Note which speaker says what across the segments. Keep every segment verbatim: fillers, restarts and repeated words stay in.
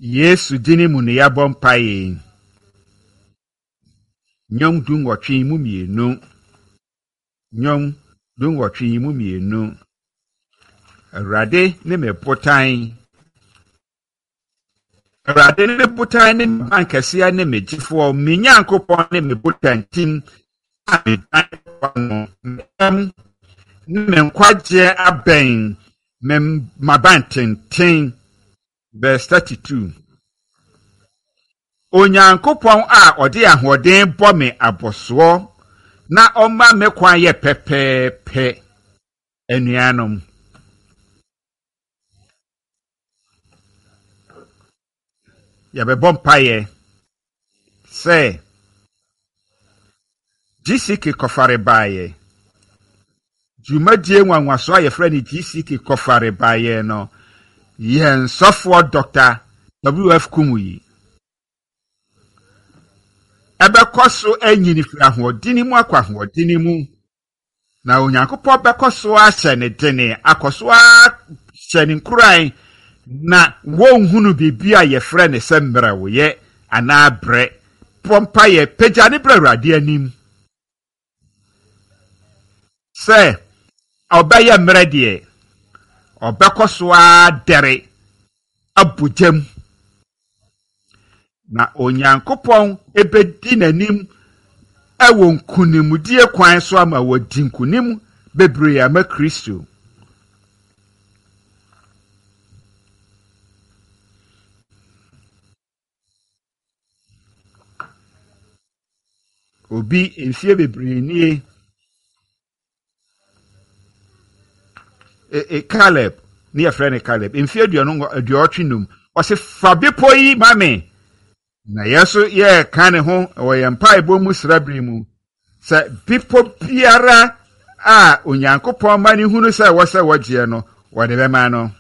Speaker 1: Yesu dini mu ne yɛabɔ mpaeɛ. Nnwom du nwɔtwe mu mmienu. Nnwom du nwɔtwe mu mmienu. Awurade ne me botan. Awurade ne me botan ne me bankɛseɛ ne me gyefoɔ, me Nyankopɔn ne me botantim a medan no. Me ne me nkwagyeɛ abɛn me m'abantenten. Verse thirty-two. Onyankopɔn a ɔde ahoɔden bɔ me abɔsoɔ na ɔma me kwan yɛ pɛpɛɛpɛ. Anuanom, yɛbɛbɔ mpaeɛ sɛ G C K kɔfare baeɛ. Dwumadie nwanwaso a yɛfrɛ no G C K kɔfare baeɛ no, yɛn sɔfoɔ Doctor W F Kumuyi ɛbɛkɔ so anyini firi ahoɔden mu akɔ ahoɔden mu, na Onyankopɔn bɛkɔ so ahyɛ ne dene, akɔ so ahyɛ ne nkuran, na wɔnhunu biribi a yɛfrɛ ne sɛ mmerɛwoyɛ anaa brɛ. Bɔ mpaeɛ, pagya ne brɛ Awurade anim sɛ ɔbɛyɛ mmerɛ deɛ, ɔbɛkɔ so adɛre abɔ gyam, na Onyankopɔn ebedi n'anim ɛwɔ nkonimdie kwan so ama wɔdi nkonim bebree ama Kristo. Obi mfie bebree nie. E, e, Caleb, ne yɛfrɛ no Caleb, mfie aduonu aduɔtwe num. Ɔse fa bepɔ yi ma me. Na yɛn nso yɛreka ne ho wɔ yɛn mpaebɔ mu srabere mu sɛ bepɔ biara a Onyankopɔn ma ne hunu sɛ ɛwɔ sɛ wɔgyeɛ no, wɔde bɛma no.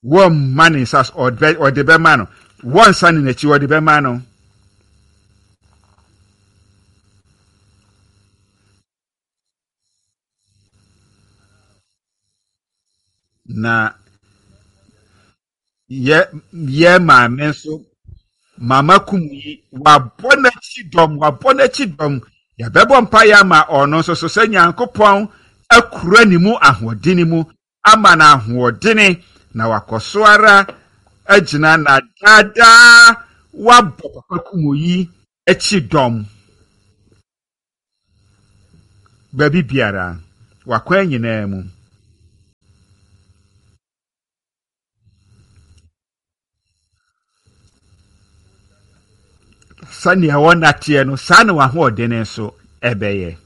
Speaker 1: Wɔmma ne nsa so, ɔde bɛma no. Wɔnsa ne n'akyi, wɔde bɛma no. Na yɛ yɛ maame nso, Mama Kumuyi, wabɔ n'akyi dɔm, wabɔ n'akyi dɔm. Yɛbɛbɔ mpaeɛ ama ɔno nso so sɛ Nyankopɔn akura ne mu ahoɔdene mu, ama no ahoɔdene, na wakɔ so ara agyina na daadaa wabɔ Papa Kumuyi akyi dɔm. Baabi biara, wakwan nyinaa mu. Sɛnea wɔnateɛ no, saa na w'ahoɔdene nso ɛbɛyɛ.